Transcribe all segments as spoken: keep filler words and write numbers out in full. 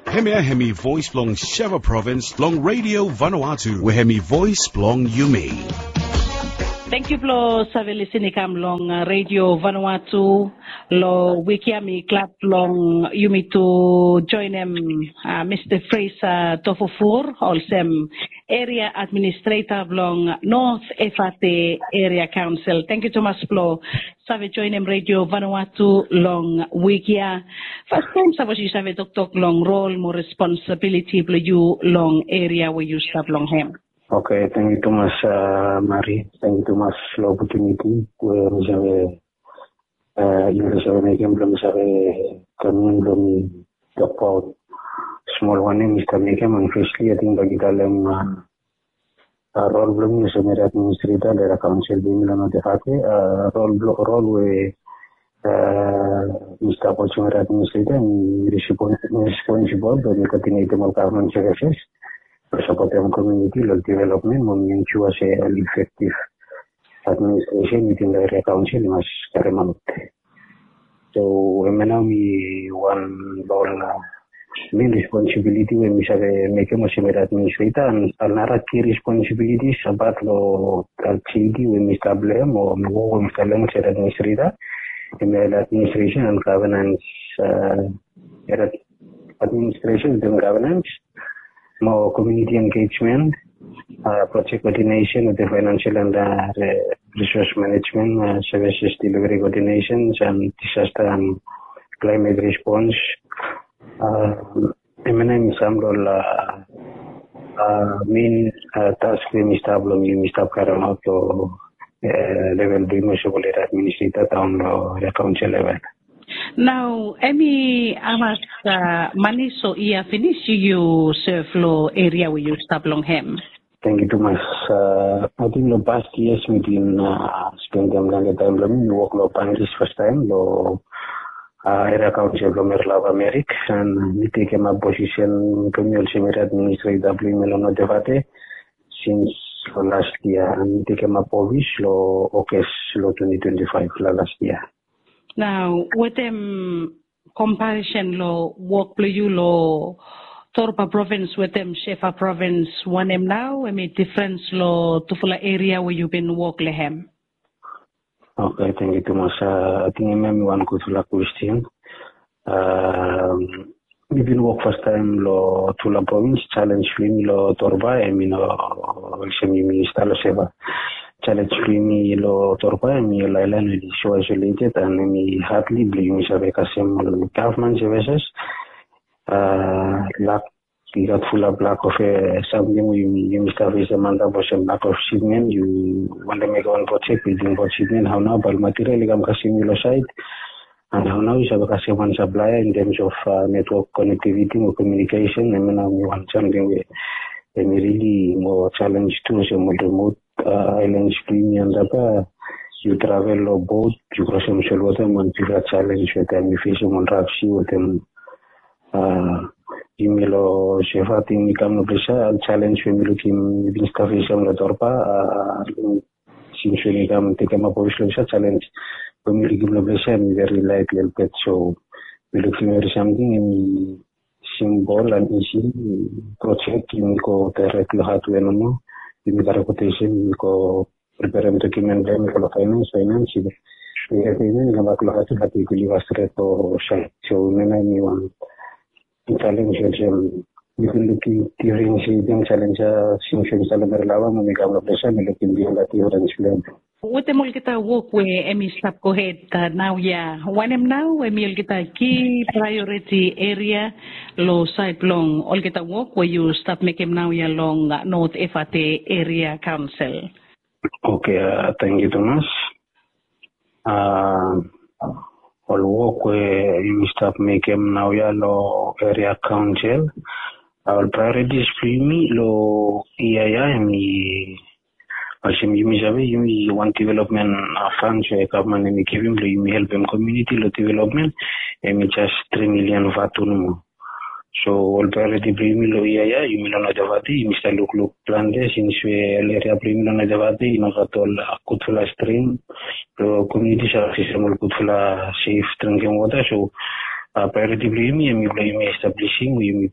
Hemia hemi voes blong Sheva Provins long Radio Vanuatu, we hemi voes blong yumi. Tangkiu blong save lisin i kam long uh, Radio Vanuatu. Long wik ya mi glad blong yumi tu joinem uh, Mista Fraser Tofufur olsem eria administreta blong North Efate Eria Kaonsel. Tangkiu tumas blong save joinem Radio Vanuatu long wik ya. Fastaem sapos yu save toktok long rol mo responsabiliti blong yu long eria we yu stap long hem. Oke, tangkiu tumas uh, Mari. Tangkiu tumas long opotuniti we mi save uh, yu save mekem blong mi save kamin blong mi tokbaot smol wanem mi stap mekem. And firstly ating bagi talem uh, uh, rol blong mi olsem eria administreta long eria kaonsel blong mi long North Efate. Uh, rol blong rol we uh, mi stap olsem eria administreta mi responsibol blong mi koordinetem ol gavman servises blong sapotem komuniti long developmen mo mi ensua se ol efektiv administresen wetem long eria kaonsel i mas karemaot. So hemia nao mi wan long ol men responsibiliti we mi save mekem olsem eria administreta. And nara ki responsibiliti sabat long ol JD we mi stap long hem o long wok we mi stap long hem olsem eria administreta, hemia eria administresen and gavenans. Administration wetem governance, mo community engagement, uh, project coordination wetem financial and uh, resource management, uh, services delivery coordinations and disaster and climate response. Uh, Hemia nao hemi sam long ol uh, uh, main uh, task we mi stap long mi mi stap karemaot long uh, level blong mi olsem ol eria administreta daon long eria kaonsel level. Nao hemi hamas uh, manis o yia finis yu yu sev long eria we yu stap long hem? Tangkiu tumas. Uh, ating long past years mi bin uh, spendem planti taem blong mi mi wok long Bangis fastaem long uh, eria kaonsel blong Merlava Merik. And mi tekemap posisen blong mi olsem eria administreta blong yumi long North Efate sins long last yia. And mi tekemap ofis long August long twenty twenty-five long last yia. Nao wetem komparisen long wok blong yu long Torba provins wetem Shefa provins, wanem nao hemi difrens long tufala eria we yu bin wok long hem? Oke, tangkiu tumas. Ating hemia hemi wan gudfala kwesten. Mi bin wok fastaem long tufala provins. Jalenj blong yumi long Torba hemi no olsem yumi stap long Shefa. Jalenj blong yumi long Torba hemi ol aelan we i so aisoleted and hemi hadli blong yumi save kasem ol gavman sevises. Lak i gat fulap lak of samting we yumi stap fesem antap olsem lak of sipmen. Yu wantem mekem wan projek, bildim wan sipmen, hao nao bae ol material i kam kasem yu long saed? And hao nao yu save kasem wan saplaea in terms of netwok konektiviti mo komiunikesen? Hemia nao hemi wan samting we hemi rili moa jalenj tu olsem ol remot aelans blong yumi antap ya. Yu travel long bot, yu krosem solwota, hemi wan bigfala jalenj we taem yu fesem ol raf si wetem yumi long Shefa. Ating mi kam long ples ya, jalenj we mi lukim, mi bin stap fesem long Torba, sins we mi kam tekemap ofis long ples ya, jalenj we mi lukim long ples ya hemi veri laet lelebet. So mi lukim evri samting hemi simbol and isi projek. Yumi go daerek long hadwea nomo. Yumi karem kwotesen, yumi go preperem dokiumen blong hem, yumi go long faenans, faenans i go preperem, i kambak long hadwea, hadwea i go liv stret long saed. So hemia nao hemi wan jalenj olsem mi bin lukim difrens, i bin jalenj ya sins we mi stap long Merlava mo mi kam long ples ya, mi lukim bigfala difrens blong hem. Wetem olgeta wok we hemi stap gohed naoia, wanem nao hemi olgeta ki praeoriti eria long saed blong olgeta wok we yu stap mekem naoia long North Efate Eria Kaonsel? Oke, tangkiu tumas. Ol wok we yumi stap mekem naoia long Eria Kaonsel, ol praeoritis blong yumi long yia ya hemi olsem yumi save, yumi wan developmen fans we gavman hemi givim blong yumi helpem komuniti long developmen, hemi jes tri milian vatu nomo. So ol praeoriti blong yumi long yia ya, yumi long North Efate, yumi stap lukluk plante sins we ol eria blong yumi long North Efate i no gat ol gudfala strim blong komuniti i save aksesem ol gudfala sef dringkem wota. So Prioriti blong yumi em i blong yumi establisim o yumi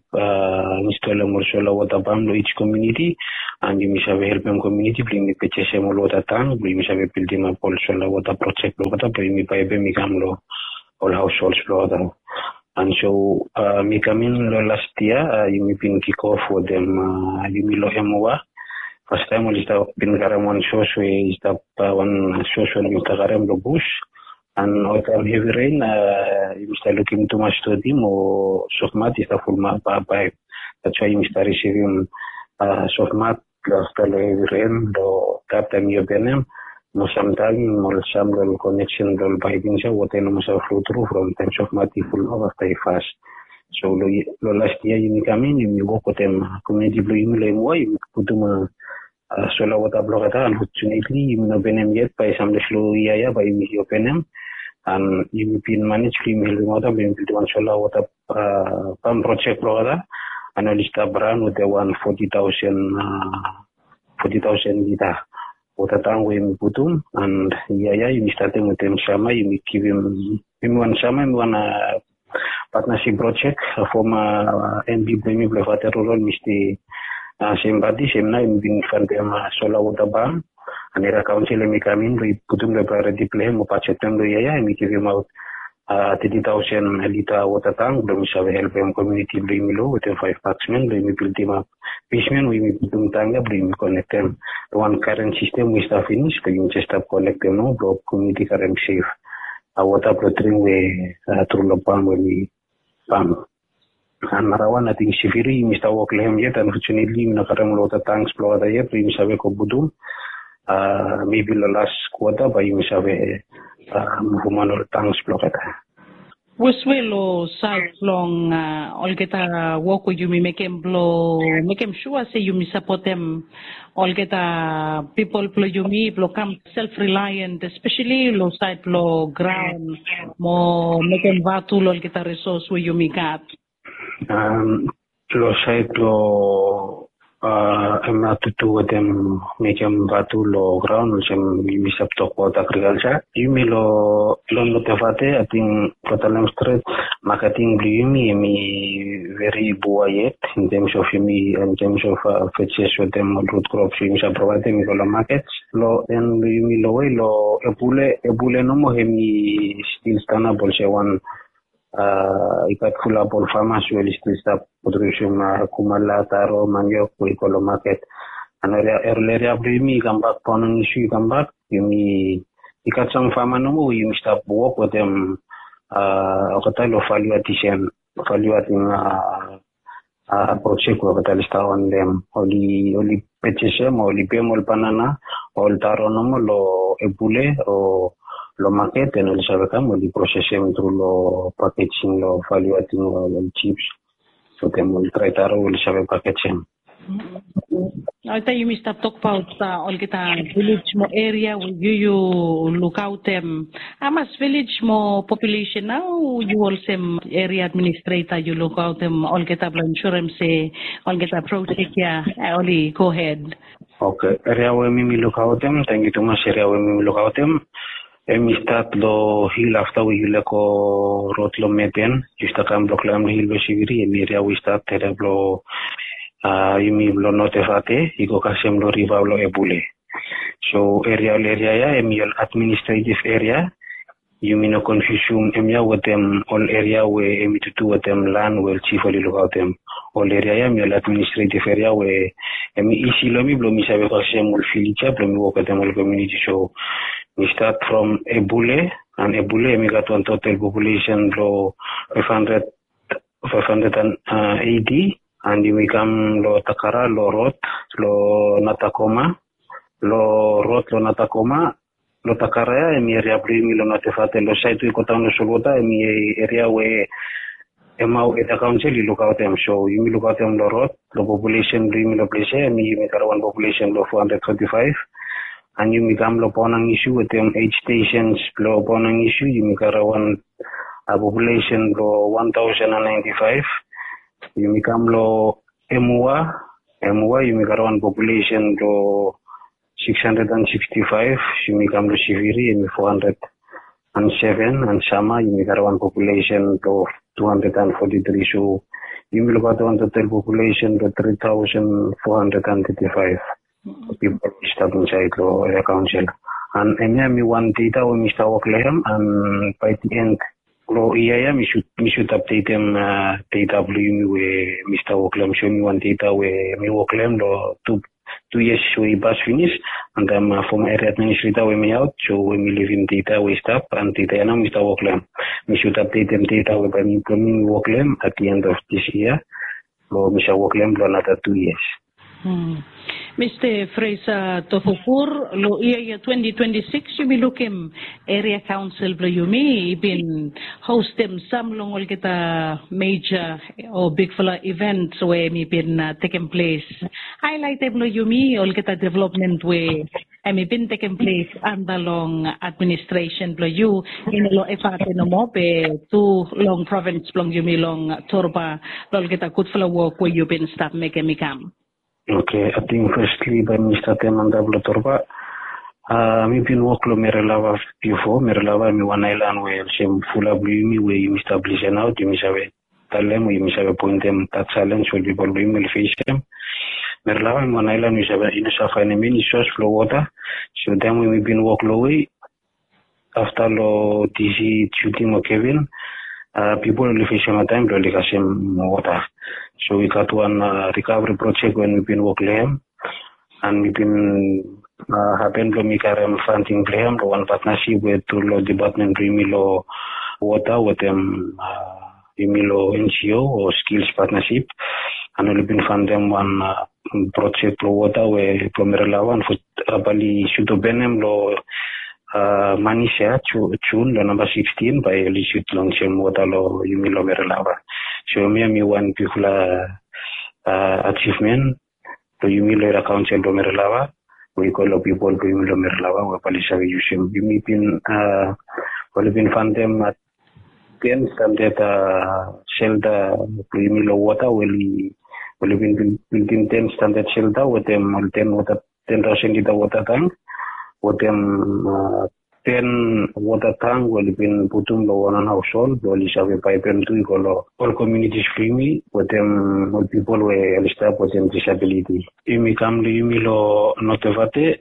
instalim ol sola wota pam long each komuniti, and yumi save helpim komuniti blong yumi purchasem ol wota tank blong yumi save bildim ap ol sola wota projek blong olgeta blong yumi paipim i kam long ol haushols blong olgeta. And so mi kam in long last yia, yumi bin kikof wetem yumi long emoa. Fastaim oli stap bin karim wan sos we i stap wan sos we oli bin stap karim long bus. And oltaim hevi ren yumi stap lukim tumas stodi mo sofmat i stap fulmap paip. That's why yumi stap risivim sofmat long afta long hevi ren long taim taim i openem. Mo samtaim ol sam long ol koneksen blong ol paip insait wota i no mas flo tru from taim sofmat i fulmap afta i fas. So long last yia yumi kam in yumi wok wetem komuniti blong yumi long emoa yumi putum sola wota blong olgeta. Unfortunately yumi no openem yet, bae samde slo yia ya bae yumi openem. And yumi bin manej blong yumi helpim olgeta blong yumi bildim wan sola wota pam projek blong olgeta. And oli stap ran wetem wan foti taosen foti taosen lita wota tank we yumi putum. And yia ya yumi statem wetem sama yumi givim yumi wan sama yumi wan patnasip projek. Foma mp blong yumi blong fate rural mista sem pati sem nao yumi bin fandim sola wota pam. And eria kaonsel em i kam in blong i putum long prioriti blong em o bajet blong em long yia ya em i givimaot teti taosen lita wota tank blong yumi save helpim komuniti blong yumi long wetem faef paksmen blong yumi bildim ap besmen we yumi putum tank ya blong yumi konektem long wan karen sistem we i stap finis blong yumi jes stap konektem nao blong komuniti karim sef wota blong dring we tru long pam we mi pam. And narawan ating siviri yumi stap wok long hem yet. Unfortunately yumi no karim ol wota tanks blong olgeta yet blong yumi save go putum. Mebi long las kwota bae yumi save muvum wan ol tanks blong olgeta. Weswe long sait blong olgeta wok we yumi mekem blong mekem sua se yumi sapotem olgeta pipol blong yumi blong kam self reliant espeseli long sait blong graun mo mekem vatu long olgeta resos we yumi gat. Long sait blong em ya tutu wetem mekem vatu long graun olsem yumi save tokbaot agrikalsa. Yumi long long notevate ating, kotalem stret maketing blong yumi em i veri bua yet in tems of yumi in tems of fejes wetem ol rut krops we yumi save provaedem i go long maket. Long en blong yumi long we long ebule ebule nomo em i stil stanap olsem wan i gat fulap ol famas we oli stil stap produsim kumala taro maniok we i go long maket. And ol eria blong yumi i kambak paonong isu i kambak. Yumi i gat sam fama nomo we yumi stap wok wetem olgeta long valiu adisen valiu ating projek we olgeta oli stap wantem oli oli pejesem o oli pem ol banana o ol taro nomo long ebule o long maket. En oli save kam oli prosesem tru long pakejing long valiu ating ol jips wetem ol drai taro we oli save pakejim. Oltaim yumi stap tokbaot olgeta vilej mo eria we yu yu lukaotem hamas vilej mo populesen nao yu olsem eria administreta yu lukaotem olgeta blong ensurem se olgeta projek ya oli gohed? Oke, eria we mi mi lukaotem tangkiu tumas eria we mi mi lukaotem em i stat long hil afta we yu lego rod long meten yu stap kam blong klaem long hil blong siviri em i eria we i stat eria blong yumi blong notevate i go kasem long riva long ebule. So eria ol eria ya em i ol administretiv eria. Yumi no konfiusim em ya wetem ol eria we em i tutu wetem lan we ol jif oli lukaotem. Ol eria ya em i ol administretiv eria we em i isi long mi blong mi save kasem ol vilej ya blong mi wok wetem ol komuniti. So mi stat from ebule and ebule em i gat wan total populesen blong faef handred faef handred and eti. And yumi kam long takara long rod long natakoma long rod long natakoma. Long takara ya em i eria blong yumi long notevate long sait we i godaon long solwota em i eria we emao eria kaonsel i lukaotem. So yumi lukaotem long rod long populesen blong yumi long ples ya em i yumi gat wan populesen blong fo handred foti faef. And yumi kam long bonang isu wetem eit stesens blong bonang isu yumi gat wan populesen blong wan taosen and naenti faef. Yumi kam long emua emua yumi gat wan populesen blong six hundred and sixty five. Yumi kam long siviri em i four hundred and seven and sama yumi gat wan populesen blong two hundred and forty three. So yumi olbaot wan total population blong three thousand four hundred and thirty five pipol i stap insaed long eria kaonsel. And hemia mi wan data we mi stap wok long hem, and bae di end long yia ya mi sud mi sud apdetem data blong yumi we mi stap wok long hem. So mi wan data we mi wok long hem long tu tu yias we i pas finis. And from eria administreta we mi aot, so we mi livim data we i stap, and data ya nao mi stap wok long hem. Mi sud apdetem data we bae mi blong mi wok long hem at di end of dis yia, blong mi save wok long hem blong anata tu yias. Mista Fresa Tofokur, long yia ya twenty twenty six yumi lukim eria kaonsel blong yumi i bin hostem sam long olgeta meja o bigfala event we hemi bin tekem ples. Haelaetem long yumi olgeta developmen we hemi bin tekem ples anda long administresen blong yu, i no long Efate nomo be tu long provins blong yumi long Torba, long olgeta gudfala wok we yu bin stap mekem i kam. Oke, ating festli bae mi statem antap long Torba. Mi bin wok long Merelava bifo. Merelava hemi wan aelan we olsem fulap blong yumi we yumi stap lisen aot, yumi save talem o yumi save poentem dat jalenj we ol pipol blong yumi oli fesem. Merelava hemi wan aelan we i no save faenem eni sos blong wota. So taem we mi bin wok long we afta long DC Judy mo Kevin, pipol oli fesem hataem blong oli kasem wota. So i gat wan rikavri projek we mi bin wok long hem, and mi bin hapen blong mi karem fanding blong hem long wan patnasip we tu long depatmen blong yumi long wota wetem yumi long NGO o skils patnasip. And oli bin fandem wan projek blong wota we blong Merelava, and bae oli sud openem long manis ya Jun long namba sikstin, bae oli sud lonsem wota long yumi long Merelava. So hemia hemi wan bigfala ajivmen blong yumi long eria kaonsel blong Merelava, we i go long pipol blong yumi long Merelava we bae oli save yusum. Yumi bin, oli bin fandem ten standad selta blong yumi long wota we oli bin bildim ten standad selta wetem ol ten wota, ten taosen lita wota tang, wetem ten wota tang we oli bin putum long wan wan haoshol blong oli save paepem tu i go long ol komiunitis blong yumi wetem ol pipol we oli stap wetem disabiliti. Yumi kam long yumi long Notevate,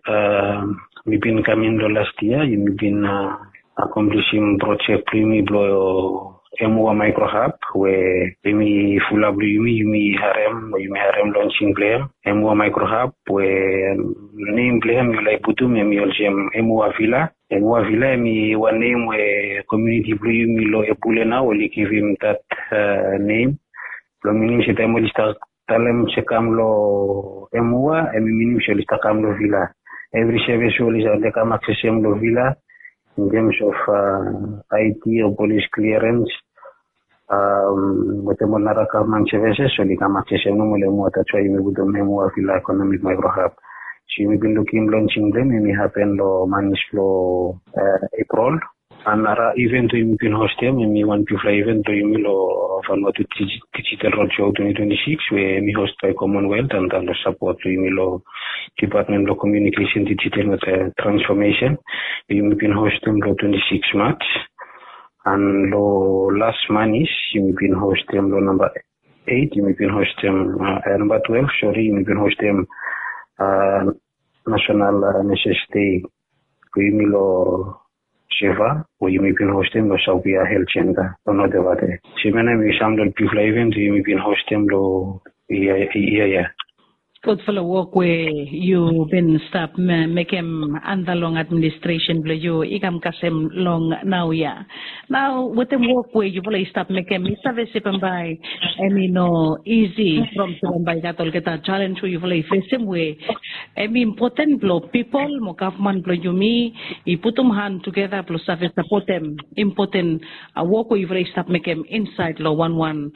mi bin kam in long las yia, yumi bin akomplisim projek blong yumi blong Emua Micro Hub we yumi fulap long yumi, yumi harem, yumi harem lonsing blong hem. Emua Micro Hub we nem blong hem yu laek putum hemi olsem Emua Villa. Emua Villa hemi wan nem we komiuniti blong yumi long Epule nao oli givim dat nem. Blong minim se taem oli stap talem se kam long Emua, hemi minim se oli stap kam long Villa. Evri sevis we oli save kam aksesem long Villa, in terms of IT o polis kliarens, wetem ol nara gavman sevises, oli kam aksesem nomo long Emua. That's why yumi putum Emua Villa Economic Micro Hub. So yumi bin lukim lonsing blong hem, hemi hapen long manis blong Epril. And nara iven we yumi bin hostem, hemi wan bigfala iven blong yumi long Vanuatu Digital Roadshow twenty twenty six we hemi host bae Commonwealth antap long sapot blong yumi long Dipatmen blong Komiunikesen, Digital wetem Transfomesen. Yumi bin hostem long twenty six March. And long las manis yumi bin hostem long namba eit, yumi bin hostem, namba twelve, sori, yumi bin hostem National Nurses Day blong yumi long Seva we yumi bin hostem long Saupia Health Centre long Notevate. So hemia nao hemi sam long ol bigfala iven we yumi bin hostem long yia ya. Gudfala wok we yu bin stap mekem antap long administresen blong yu i kam kasem long naoia. Nao wetem wok we yufala i stap mekem, mi save se bambae hemi no isi from se bambae i gat olgeta jalenj we yufala i fesem we hemi impoten blong pipol mo gavman blong yumi i putum han tugeta blong save sapotem impoten wok we yufala i stap mekem insaed long wanwan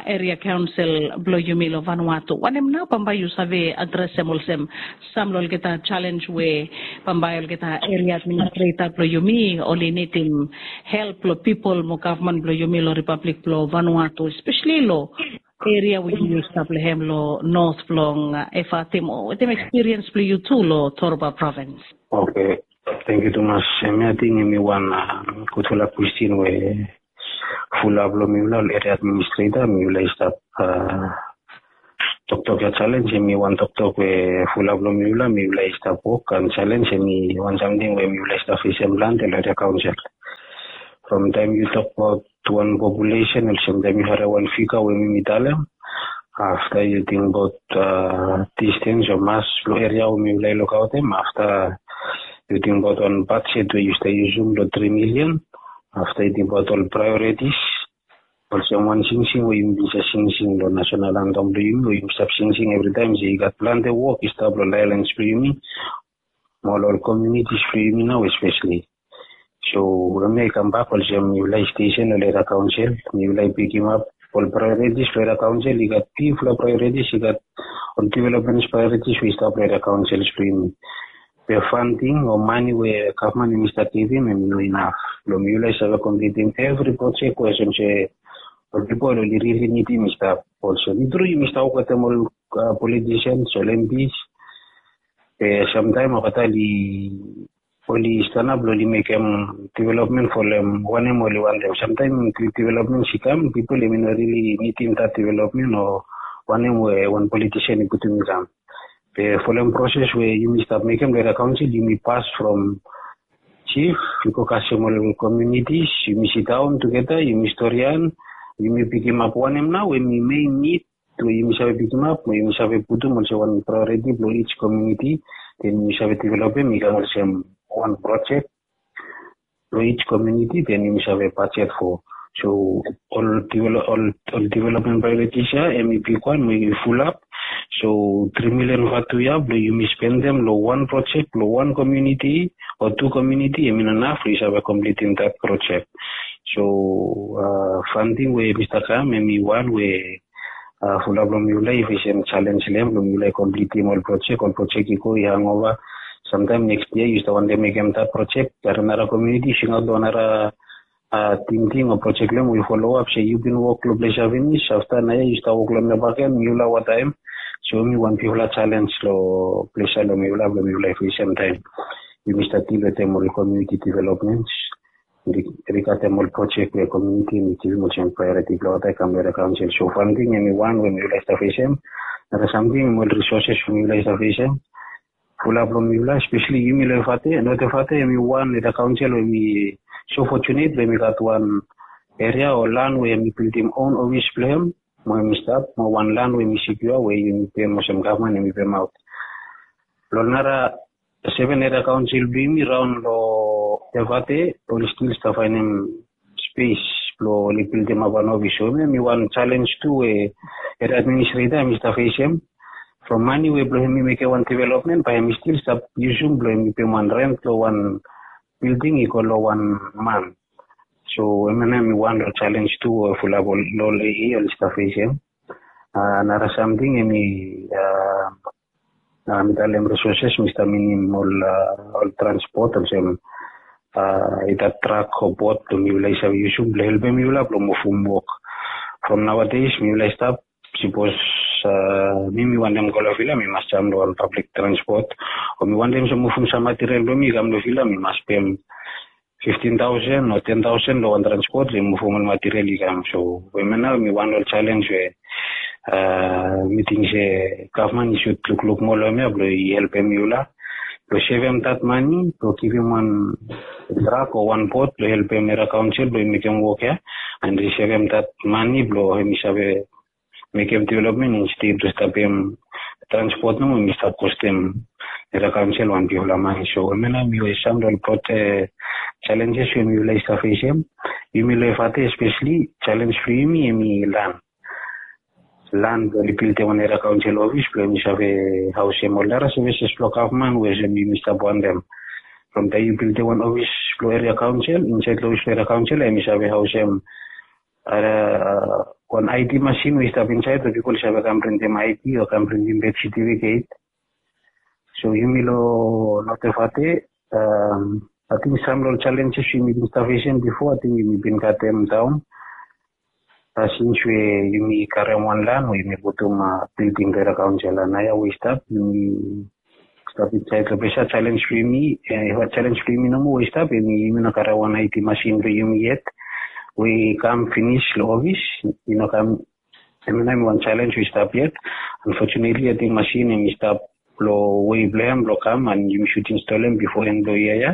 eria kaonsel blong yumi long Vanuatu. Wanem nao bambae yu save adresem olsem sam long olgeta jalenj we bambae olgeta eria administreta blong yumi oli nidim help blong pipol mo gavman blong yumi long Ripablik blong Vanuatu, espeseli long eria we yu stap long hem long not blong Efate mo wetem ekspiriens blong yu tu long Torba provins? Oke, tangkiu tumas. Hemia ating hemi wan gudfala kwestin we fulap long mifala ol eria administreta mifala i stap toktok ya challenge em i wan toktok we fulap long mifala mifala i stap wok and challenge em i wan samting we mifala i stap fesem planti long eria kaunsil. From taim yu tok abaot wan populesen olsem taim yu harim wan figa we mi mi talem, afta yu ting abaot distens o mas blong eria we mifala i lukaotem, afta yu ting abaot wan bajet we yu stap yusum blong tri milian, afta yu ting abaot ol praeoritis olsem wan singsing we yumi bin save singsing long nasenal antam blong yumi we yumi stap singsing evritaim se i gat planti wok i stap long lailans blong yumi mo ol ol komunitis blong yumi nau espeseli. So em ya i kambak olsem mifala i stesen long eria kaunsil, mifala i pikimap ol praeoritis blong eria kaunsil. I gat bigfala praeoritis, i gat ol development praeoritis we i stap long eria kaunsil blong yumi. Be fanting o mani we gavman i stap givim em i no inaf blong mifala i save komplitim evri projek we olsem se ol pipol oli rili nidim i stap. Olsem i tru yumi stap wok wetem ol politisians ol MPs, be samtaim olgeta oli stanap blong oli mekem developmen folem wanem oli wantem. Samtaim developmen i kam, pipol em i no rili nidim dat developmen o wanem we wan politisen i putum i kam. Be folem proses we yumi stap mekem long eria kaunsil, yumi pas from jif i go kasem ol komunitis, yumi sidaon tugeta, yumi storian, yumi pikimap wanem nau em i mein nid we yumi save pikimap mo yumi save putum olsem wan praeoriti blong each komuniti. Den yumi save developem i kam olsem wan projek blong each komuniti, den yumi save bajet fo. So ol developmen praeoritis ya em i bigwan mo i fulap. So tri milian vatu ya blong yumi spendem long wan projek blong wan komuniti o tu komuniti em i no naf blong i save komplitim dat projek. So fanting we mista kam em i wan we fulap long mifala i fesem jalenj long em blong mifala i komplitim ol projek ol projek i go i hangova. Samtaim neks yia yu stap wantem mekem dat projek, nara komuniti i singaot long nara tingting o projek long em we i follow ap se yu bin wok long ples ya finis, afta naoia yu stap wok long em ya bakegen, mifala wataem. So em i wan bigfala jalenj long ples ya long mifala blong mifala i fesem taem yumi stap dil wetem ol komuniti developments, rigatem ol projek we komuniti em i givim olsem praeoriti blong wata i kam long eria kaonsel. So fanting em i wan we mifala i stap fesem. Nara samting em ol risoses we mifala i stap fesem. Fulap long mifala, espeseli yumi long Efate, Not Efate em i wan eria kaonsel we em i so fojunet we em i gat wan eria o lan we em i bildim on ofis blong em, mo em i stap mo wan lan we em i sikiua we yumi pem olsem gavman em i pemaot. Long nara seven eria kaonsel blong yumi raon long Efate oli stil stap faenem spes blong oli bildimap wan ofis. So em i wan jalenj tu we eria administreta em i stap fesem. From mani we blong em i mekem wan developmen bae em i stil stap yusum blong em i pem wan rent long wan bilding i go long wan man. So em ya nao em i wan long jalenj tu we fulap long ol AA oli stap fesem. Nara samting em i mi talem risoses mi stap minim ol transpot olsem i gat trak o bot blong mifala i save yusum blong helpem mifala blong muvum wok. From naoades mifala i stap, sipos mi mi wantem go long vila mi mas jam long wan pablik transpot, o mi wantem olsem muvum sam material blong mi i kam long vila mi mas pem fiftin taosen o ten taosen long wan transpot blong muvum ol material i kam. So em ya nao em i wan long ol jalenj we mi ting se gavman i sud lukluk moa long em ya blong i helpem mifala blong sevem dat mani blong givim wan trak o wan bot blong helpem eria kaonsel blong i mekem wok ya, and i sevem dat mani blong em i save mekem developmen insted blong stapem transpot nomo em i stap kostem eria kaonsel wan bigfala mani. So em ya nao em i we sam long ol jalenjes we mifala i stap fesem. Yumi long Efate espeseli jalenj blong yumi em i lan. Lan blong oli bildim wan eria kaonsel ofis blong em i save haosem ol nara sevises blong gavman we olsem yumi stap wantem. From taem yu bildim wan ofis blong eria kaonsel, insaed long ofis blong eria kaonsel em i save haosem wan ID masin we i stap insaed we pipol i save kam printim ID o kam printim beth setifiket. So yumi long Not Efate, ating sam long ol jalenjes we yumi bin stap fesem bifo ating yumi bin gatem daon. Sins we yumi karem wan lan we yumi putum bilding blong eria kaonsel, naoia we i stap yumi stap insaed long ples ya, jalenj blong yumi, jalenj blong yumi nomo we i stap em i yumi no karem wan ID masin blong yumi yet. we i kam finis long ofis, i no kam. Em nao em wan challenge we i stap yet. Unfortunately, ating masin em i stap long wei blong hem blong kam, and yumi should install em bifo en blong yia ya.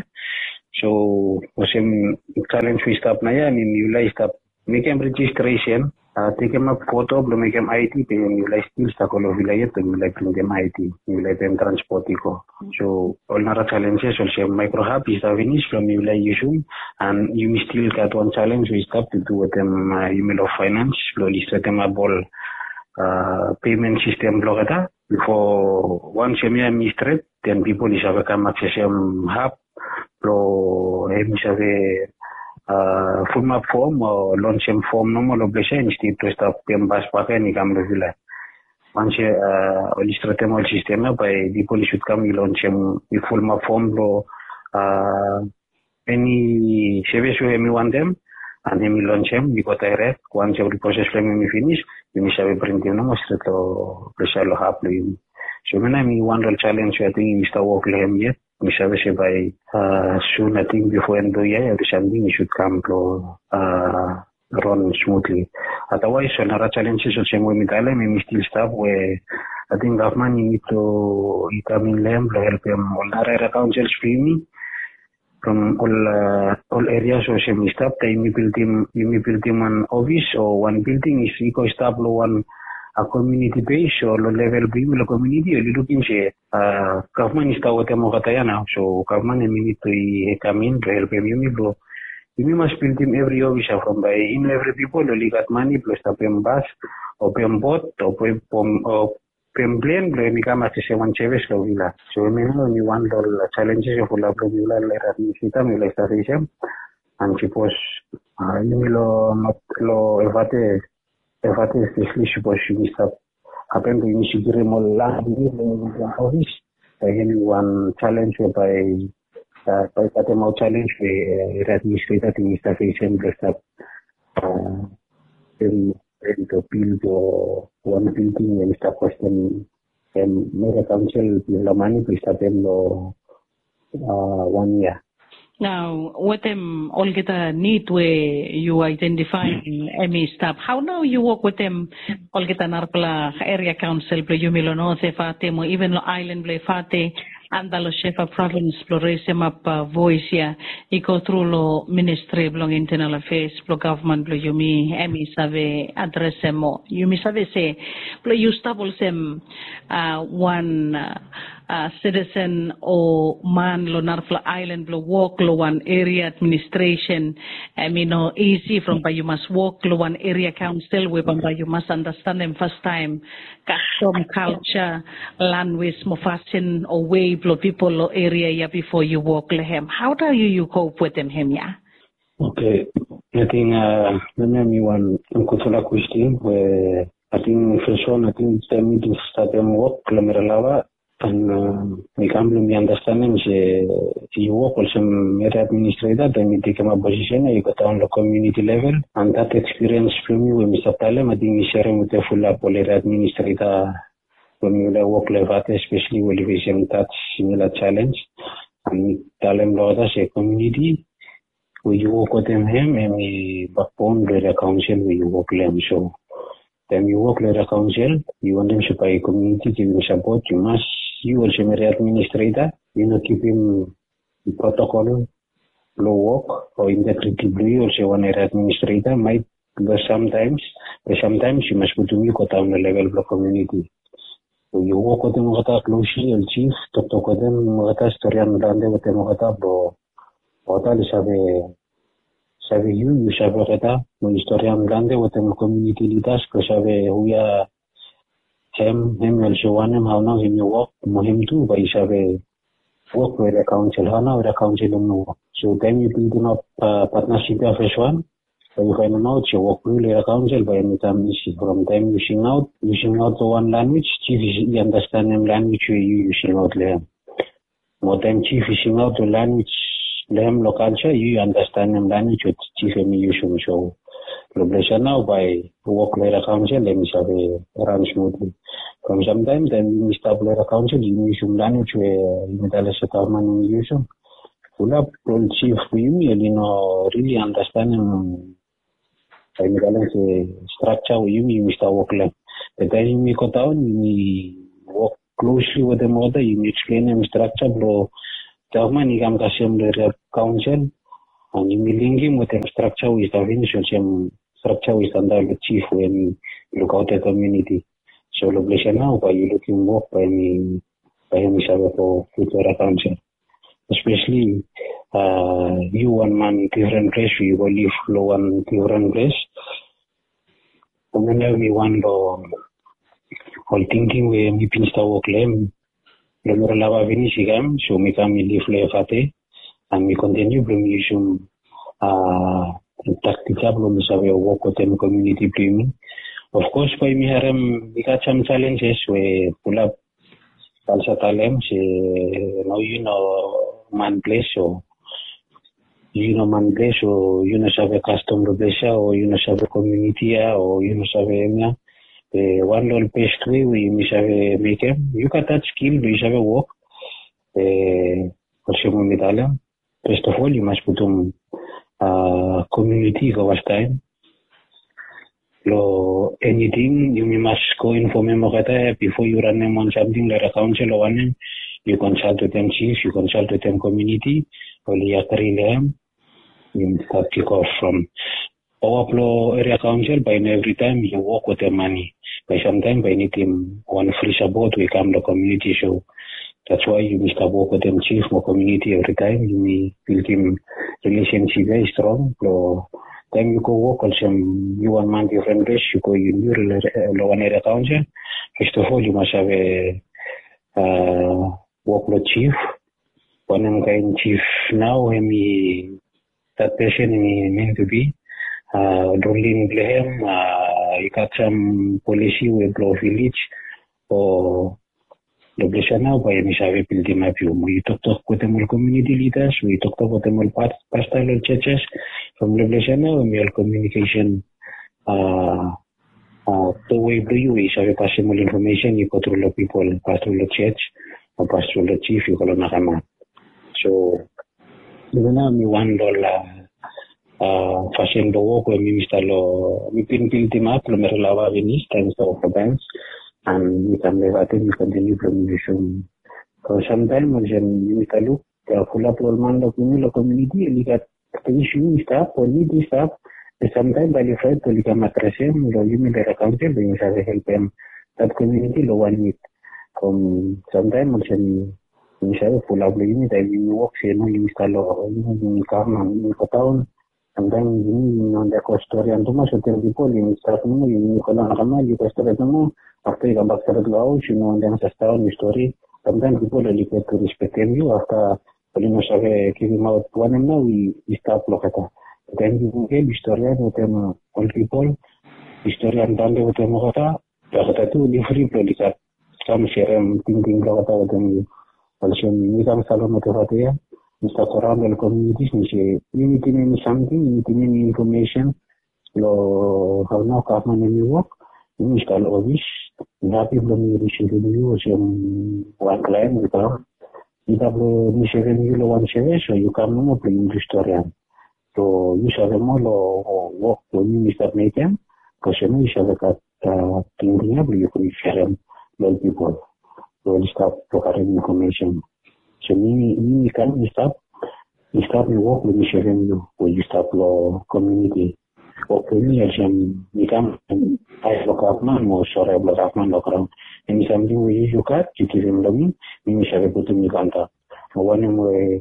So olsem challenge we i stap nao ya, em yufala i stap mekem registration, tekemap foto blong mekem I D, be yufala i stil stragol long vila yet blong yufala i printim I D, yufala i pem transport i go. So ol nara challenges olsem micro hub i stap finis blong yufala i yusum, and yumi stil gat wan challenge we i stap to do wetem yumi long finance blong oli stretemap ol payment system blong olgeta. Bifo wans hemia em i stret, then pipol i save kam aksesem hub blong hem i save fulumap fom o lonsem fom nomo long ples ya, instead blong stap pem bas bakegen i kam long vila. Wans oli stretem ol sistem ya, bae pipol i sud kam i lonsem, i fulumap fom blong eni sevis we hem i wantem, and hem i lonsem i go dairek. Wans evri proses blong hem hem i finis, yumi save printim nomo stret long ples ya long hub blong yumi. So hemia nao hem i wan long ol challenge we ating yumi stap wok long hem yet. Mi save se bae sun ating bifo en blong yia ya, evri samting i sud kam blong ran smutli. Otherwise ol nara challenges olsem we mi talem, hem i stil stap we ating gavman i nid blong i kam in long hem blong helpem ol nara eria kaonsels blong yumi from ol ol erias olsem i stap, taem yumi bildim, yumi bildim wan ofis o wan bilding i go i stap long wan komuniti bes o long level blong yumi long komuniti, oli lukim se gavman i stap wetem olgeta ya nao. So gavman hem i nid blong i kam in blong helpem yumi blong yumi mas bildim evri ofis ya from bae i no evri pipol oli gat mane blong stap pem bas o pem bot o pem pom o pem plen blong hem i kam aksesem wan sevis long vila. So hemia nao hem i wan long ol challenges we fulap long vila long eria administreta mifala i stap fesem. And sipos yumi long Evate, Evate espeseli, sipos yumi stap hapen blong yumi sekiurim ol lan blong yumi long yumi bildim ofis, bae hem i wan challenge we bae bae i katemaot challenge we eria administreta ating i stap fesem blong stap rent o bil blong wan bilding we hem i stap kostem hem eria kaonsel blong mane blong i stap hem long wan yia. Nao wetem olgeta nid we yu aedentifaem hem i stap, hao nao yu wok wetem olgeta narafala eria kaonsel blong yumi long Not Evate mo iven long aelan blong Evate anda long Shefa provins blong resemap voes ya i go tru long ministri blong intenal afeas blong gavman blong yumi, hem i save adresem mo yumi save se blong yu stap olsem wan sitisen o man long narafala aelan blong wok long wan eria administresen, hem i no isi from bae yu mas wok long wan eria kaonsel we bambae yu mas andastanem fastaem kastom, kalja, lanwis mo fasin o wei blong pipol long eria ya bifo yu wok long hem. Hao nao yu yu kop wetem hemia? Oke, ating hemia hem i wan gudfala kwestin we ating fes wan ating taem mi bin statem wok long Miralawa, and mi kam blong mi andastanem se yu wok olsem eria administreta, taem yu tekemap posisen ya yu go daon long komuniti level. And that ekspiriens blong mi we mi stap talem, ating mi serem wetem fulap ol eria administreta we mifala i wok long Evate espeseli we oli fesem that similar challenge. And mi talem long olgeta se komuniti we yu wok wetem hem, hem i bakbon blong eria kaonsel we yu wok long hem. So taem yu wok long eria kaonsel, yu wantem se bae komuniti givim sapot, yu mas, yu olsem eria administreta, yu no kipim protokol blong wok o integriti blong yu olsem wan eria administreta. Maet be samtaems, be samtaems yu mas putum yu go daon long level blong komuniti. Yu wok wetem olgeta klosli, ol jif, toktok wetem olgeta, storian plante wetem olgeta blong olgeta oli save save yu, yu save olgeta, mo yu storian plante wetem ol komuniti lidas blong save hu ya hem, hem i olsem wanem, hao nao hem i wok, mo hem tu bae i save wok long eria kaonsel, hao nao eria kaonsel hem i wok. So taem yu bildimap patnasip ya fes wan, bae yu faenemaot se wok blong yu long eria kaonsel bae hem i kam isi from taem yu singaot, yu singaot long wan lanwis, jif i andastanem lanwis we yu, yu singaot long hem. Mo taem jif i singaot long lanwis blong hem long kalja, yu, yu andastanem lanwis we jif hem i yusum. So long ples ya nao bae wok long eria kaonsel hem i save ran smutli. From samtaem taem yumi stap long eria kaonsel yumi yusum lanwis we yumi talem se gavman hem i yusum. Fulap ol jif blong yumi oli no rili andastanem Bae mi talem se strakja we yumi yumi stap wok long hem. Be taem yumi go daon, yumi wok klosli wetem olgeta, yumi eksplenem strakja blong gavman i kam kasem long eria kaonsel. And yumi linkim wetem strakja we i stap finis, olsem strakja we i stap antap long jif we hem i lukaotem komuniti. So long ples ya nao bae yu lukim wok bae hem i, bae hem i save go future eria kaonsel. Espeseli yu wan man difren ples, yu go liv long wan difren ples. Hemia nao hemi wan long ol tingting we mi bin stap wok long hem. Long mi lava finis i kam, so mi kam mi liv long Efate. And mi kontiniu blong mi yusum taktik ya blong mi save wok wetem komuniti blong yumi. Of kos bae yumi harem i gat sam jalenjes we fulap, bae mi save talem se nao yu no man ples, o yu no man ples, o yu no save kastom blong ples ya, o yu no save komuniti ya, o yu no save hemia. Be wan long ol best wei we yumi save mekem, yu gat that skill blong yu save wok. Be olsem we mi talem, first of all yu mas putum komuniti i go fastaem. Long eniting yumi mas go infomem olgeta bifo yu ranem wan samting long eria kaonsel o wanem. Yu konsalt wetem jif, yu konsalt wetem komuniti, oli agri long hem. Yumi stap kik of from paoa blong eria kaonsel bae i no evritaem yu wok wetem mane. Bae samtaem bae i nidim wan fri sapot we i kam long komuniti. So that's why yumi stap wok wetem jif mo komuniti evritaem. Yumi bildim rilesensip ya i strong blong taem yu go wok olsem yu wan man difren ples, yu go yu niu long wan eria kaonsel. First of all yu mas save wok long jif. Wanem kaen jif nao hemi, that person hemi meant to be. Ruling blong hem i gat sam polisi we blong vilej o long ples ya nao bae hemi save bildimap yu. Mo yu toktok wetem ol komuniti lidas, mo yu toktok wetem ol pasta long ol jejes. From long ples ya nao hemi ol komunikesen towei blong yu we yu save pasem ol infomesen i go tru long pipol, pas tru long jej o pas tru long jif i go long nakaman. So even nao mi wan long ol fasin blong wok we mi mi stap long, mi bin bildimap long Merelava finis taem mi stap wok long bank. And mi kam long Efate mi kontiniu blong mi yusum. So samtaem olsem yumi stap luk fulap long ol man long komuniti oli gat isu i stap o nid i stap. Be samtaem bae oli fraet blong oli kam adresem long yumi long eria kaonsel blong yumi save helpem that komuniti long wan nid. From samtaem olsem yumi save fulap long yumi taem yumi wok se no yumi stap long yumi, yumi kam and yumi go daon. Samtaem yumi, yumi no wantem go storian tumas wetem pipol. Yumi stap nomo, yumi go long nakaman, yu go stret nomo. Afta yu kambak stret long haos, yu no wantem sasdaon yu stori. Samtaem pipol oli get tu rispektem yu afta oli no save givimaot wanem nao i stap long olgeta. Taem yu givim storian wetem ol pipol, yu storian plante wetem olgeta, olgeta tu oli fri blong oli gat kam serem tingting blong olgeta wetem yu. Olsem mi kam stap long Efate ya, mi stap go raon long ol komunitis mi se yu nidim eni samting, yu nidim eni infomesen, long hao nao gavman hemi wok. Yumi stap long ofis, mi hapi blong mi risivim yu olsem wan klaen we kam. Either blong mi sevem yu long wan sevis o yu kam nomo blong yu storian. So yu save moa long wok we mi mi stap mekem. Bikos yu no yu save gat tingting ya blong yu go yu serem long ol pipol we oli stap blong karem infomesen. So mi, mi kam, mi stap, mi stap mi wok blong mi serem yu we yu stap long komuniti. Wok blong mi olsem mi kam, ae blong gavman mo sore blong gavman long graon. Eni samting we yu, yu gat, yu givim long mi, mi mi save putum yu antap. Mo wanem we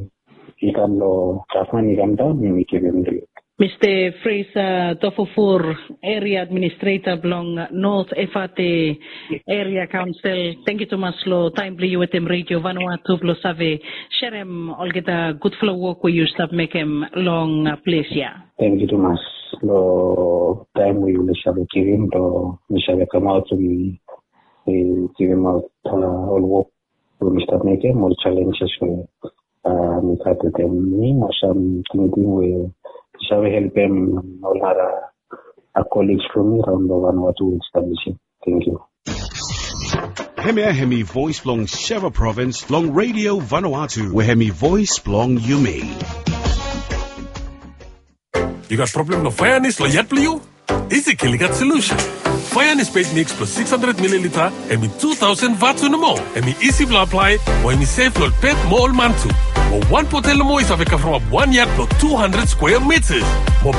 i kam long gavman i kam daon, mi mi givim long yu. Mista Fraser Tofufur, Area Administrator blong North Efate Area Council, tangkiu tumas long taem blong yu wetem Radio Vanuatu blong save serem olgeta gudfala wok we yu stap mekem long ples ya. Tangkiu tumas long taem we yumi save givim blong mi save kamaot blong mi givimaot ol wok we mi stap mekem, ol jalenjes we mi gat wetem mi, mo sam tingting we mi save helpem ol nara koligs blong mi raon long Vanuatu we i stap lisin. Tangkiu. Hemia hemi voes blong Sheva Provins long Radio Vanuatu, we hemi voes blong yumi. Yu gat problem long faenis long yat blong yu? Isi Kiligat Solution. Fire and Spade mix plus six hundred milliliter, hemi two thousand watts nomo. Hemi isi blong apply, mo hemi safe long pet mo ol man tu. Mo one bottle nomo i save cover up one yard blong two hundred square meters. Mo